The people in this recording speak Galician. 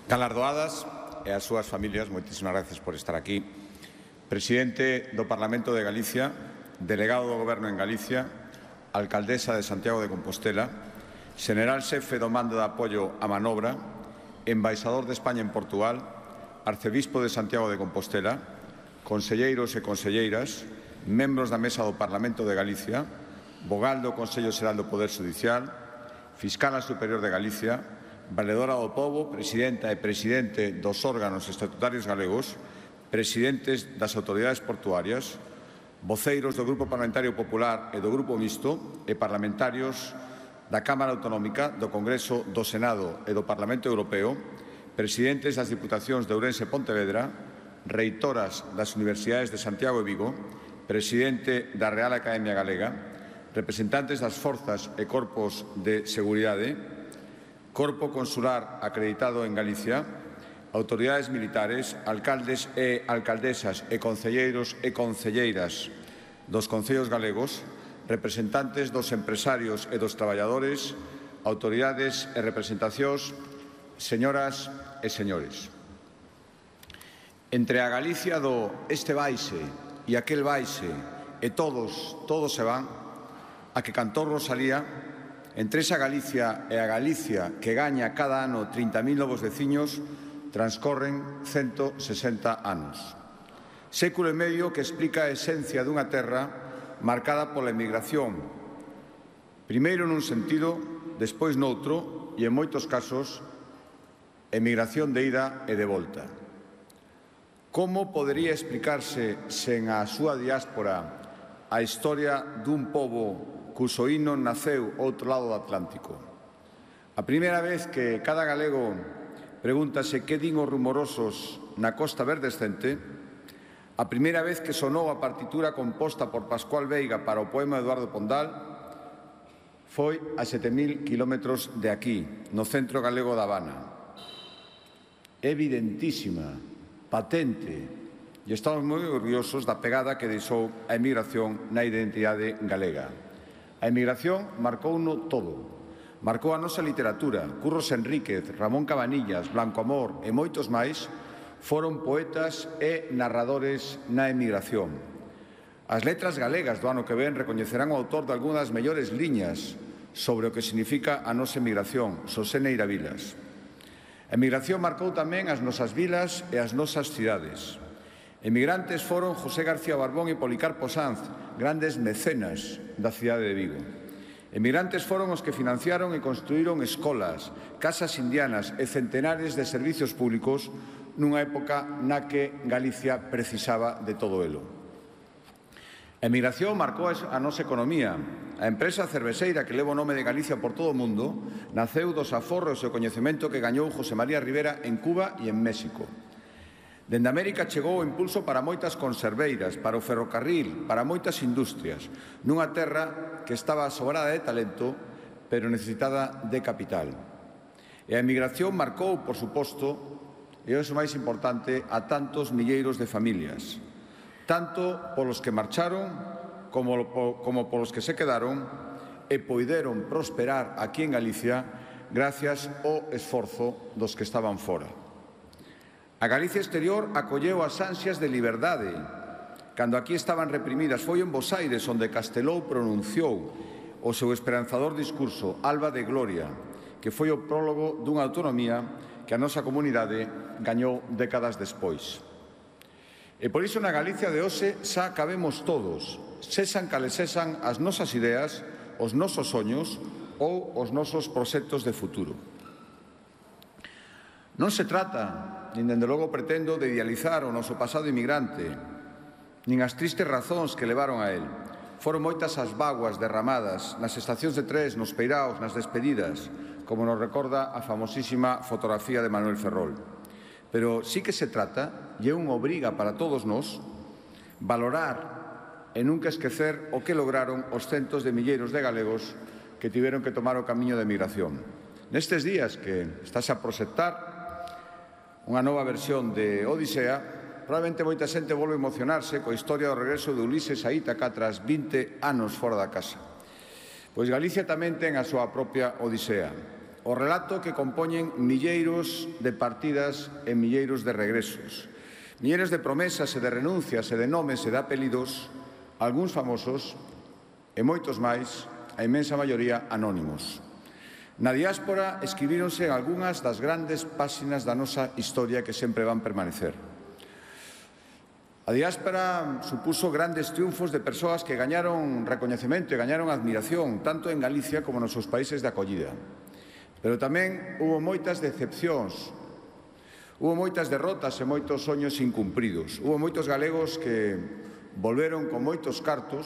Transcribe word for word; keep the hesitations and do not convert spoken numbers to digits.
Galardoadas e as súas familias, moitísimas gracias por estar aquí. Presidente do Parlamento de Galicia, delegado do Goberno en Galicia, alcaldesa de Santiago de Compostela, general xefe do mando de apoio á manobra, embaixador de España en Portugal, arcebispo de Santiago de Compostela, conselleiros e conselleiras, membros da mesa do Parlamento de Galicia, vogal do Consello Xeral do Poder Xudicial, fiscala superior de Galicia, valedora do pobo, presidenta e presidente dos órganos estatutarios galegos, presidentes das autoridades portuarias, voceiros do Grupo Parlamentario Popular e do Grupo Mixto e parlamentarios da Cámara Autonómica, do Congreso, do Senado e do Parlamento Europeo, presidentes das Diputacións de Ourense e Pontevedra, reitoras das Universidades de Santiago e Vigo, presidente da Real Academia Galega, representantes das forzas e corpos de seguridade, Corpo Consular acreditado en Galicia, autoridades militares, alcaldes e alcaldesas e concelleiros e concelleiras dos concellos galegos, representantes dos empresarios e dos traballadores, autoridades e representacións, señoras e señores. Entre a Galicia do este baixe e aquel baixe e todos, todos se van, a que cantou Rosalía, entre esa Galicia e a Galicia que gaña cada ano trinta mil novos veciños, transcorren ciento sesenta anos. Século e medio que explica a esencia dunha terra marcada pola emigración, primeiro nun sentido, despois noutro, e en moitos casos, emigración de ida e de volta. Como podería explicarse sen a súa diáspora a historia dun pobo cuso hino naceu ao outro lado do Atlántico? A primeira vez que cada galego pregúntase que din os rumorosos na costa verdescente, a primeira vez que sonou a partitura composta por Pascual Veiga para o poema de Eduardo Pondal, foi a sete mil kilómetros de aquí, no centro galego da Habana. Evidentísima, patente, e estamos moi orgullosos da pegada que deixou a emigración na identidade galega. A emigración marcouno todo. Marcou a nosa literatura. Curros Enríquez, Ramón Cabanillas, Blanco Amor e moitos máis foron poetas e narradores na emigración. As letras galegas do ano que ven recoñecerán o autor de algunhas das mellores liñas sobre o que significa a nosa emigración, Xosé Neira Vilas. A emigración marcou tamén as nosas vilas e as nosas cidades. Emigrantes foron José García Barbón e Policarpo Sanz, grandes mecenas da cidade de Vigo. Emigrantes foron os que financiaron e construíron escolas, casas indianas e centenares de servizos públicos nunha época na que Galicia precisaba de todo elo. A emigración marcou a nosa economía. A empresa cervexeira que leva o nome de Galicia por todo o mundo naceu dos aforros e o coñecemento que gañou José María Rivera en Cuba e en México. Dende América chegou o impulso para moitas conserveiras, para o ferrocarril, para moitas industrias, nunha terra que estaba sobrada de talento, pero necesitada de capital. E a emigración marcou, por suposto, e o máis importante, a tantos milleiros de familias, tanto polos que marcharon como, como polos que se quedaron e poideron prosperar aquí en Galicia gracias ao esforzo dos que estaban fora. A Galicia exterior acolleu as ansias de liberdade. Cando aquí estaban reprimidas, foi en Bos Aires onde Castelou pronunciou o seu esperanzador discurso Alba de Gloria, que foi o prólogo dunha autonomía que a nosa comunidade gañou décadas despois. E por iso na Galicia de hoxe xa cabemos todos, sexan cales sexan as nosas ideas, os nosos soños ou os nosos proxectos de futuro. Non se trata, nin dende logo pretendo, de idealizar o noso pasado inmigrante, nin as tristes razóns que levaron a él. Foron moitas as vaguas derramadas nas estacións de tres, nos peiraos, nas despedidas, como nos recorda a famosísima fotografía de Manuel Ferrol. Pero sí que se trata, e é unha obriga para todos nós, valorar e nunca esquecer o que lograron os centos de milleiros de galegos que tiveron que tomar o camiño de emigración. Nestes días que estáse a proxectar unha nova versión de Odisea, probablemente moita xente volve a emocionarse coa historia do regreso de Ulises a Ítaca tras vinte anos fora da casa. Pois Galicia tamén ten a súa propia Odisea. O relato que compoñen milleiros de partidas e milleiros de regresos, milleiros de promesas e de renuncias e de nomes e de apelidos, algúns famosos e moitos máis, a inmensa maioría anónimos. Na diáspora escribíronse algunhas das grandes páxinas da nosa historia que sempre van permanecer. A diáspora supuso grandes triunfos de persoas que gañaron recoñecemento e gañaron admiración, tanto en Galicia como nos seus países de acollida. Pero tamén hubo moitas decepcións, hubo moitas derrotas e moitos soños incumpridos. Hubo moitos galegos que volveron con moitos cartos